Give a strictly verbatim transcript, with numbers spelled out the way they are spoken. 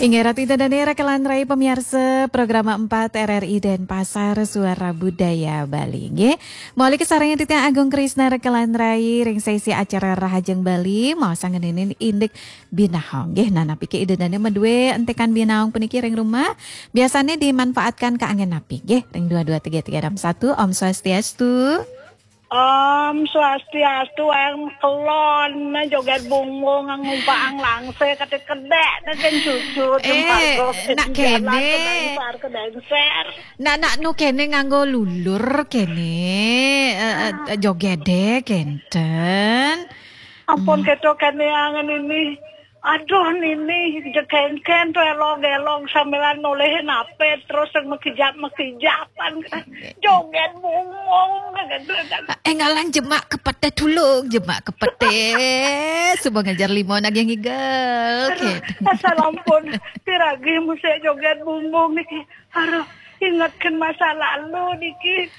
Inggih ratu ida dané rekelan rai pemiarsa program empat R R I Denpasar Suara Budaya Bali. Nggih. Mauliké sareng titiang Agung Krisna rekelan rai ring sesi acara Rahajeng Bali, maosang ngeninin indik binaong. Nggih, nah napiké ida dané madué entikan binaong puniki ring rumah? Biasané dimanfaatkan kaanggén napi? Nggih, ring dua dua tiga tiga enam satu. Om Swastiastu. Om Swastiastu, ang kelon, nah, joget bungung, ngumpang langsé, kate kedek, nah, kan cucu, Eh, tempat gok, nak jalan, kéné. Kedengser, kedengser. Nak, nak nu kéné nganggo lulur kéné, eh, eh, Ah. Jogedé kénten. Ampun, Hmm. Keto kéné angen ini. Aduh, Nini, jekengken to elog-elog sambilan nolih nape, terus yang mekijap-mekijapan. Joget bungong, gitu. Eh, ngalang jemak kepete tulung, jemak kepete. Suba ngajar lima nagih ngigel. Aduh, gitu. Asal ampun, piragi musik joget bungong niki. Aduh, ingetkan masa lalu niki.